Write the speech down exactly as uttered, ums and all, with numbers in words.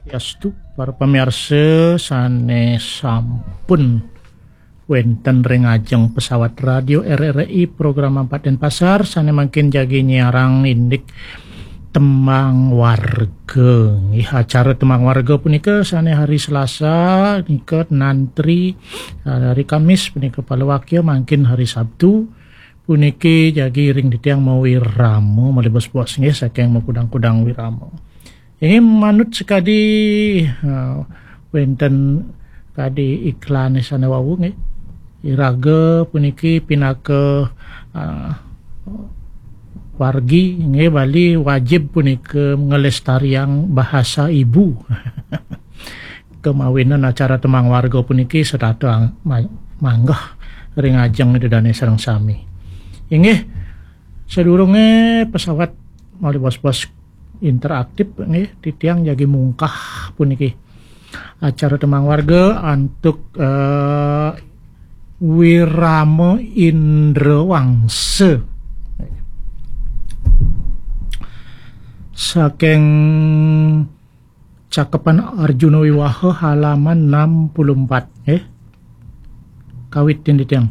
Yastu, para pamiarsa sane sampun wenten ring ajeng pesawat radio R R I program Empat Denpasar sane mangkin jagi nyiarang indik Tembang Warga. Nggih, acara Tembang Warga punika sane hari Selasa nika nantri, eh, hari Kamis punika palawakya, mangkin hari Sabtu puniki jagi ring titiang mawirama, malih bos-bos nggih, saking makudang-kudang wirama. Inggih, manut sakadi, eh, wenten kadi iklane sane wau nggih. Iraga puniki pinaka, eh, wargi nggih, Bali wajib punika ngelestariang bahasa ibu. Kemawinan acara Tembang Warga puniki setata ang-, ma-, manggeh ring ajeng Ida Dane sareng sami. Inggih, sadurunge pesawat malih bos-bos interaktif nggih, titiang jagi mungkah puniki acara Tembang Warga antuk, eh, Wirama Indrawangsa. Saking Cakepan Arjuna Wiwaha halaman enam puluh empat, eh. Kawit titiang.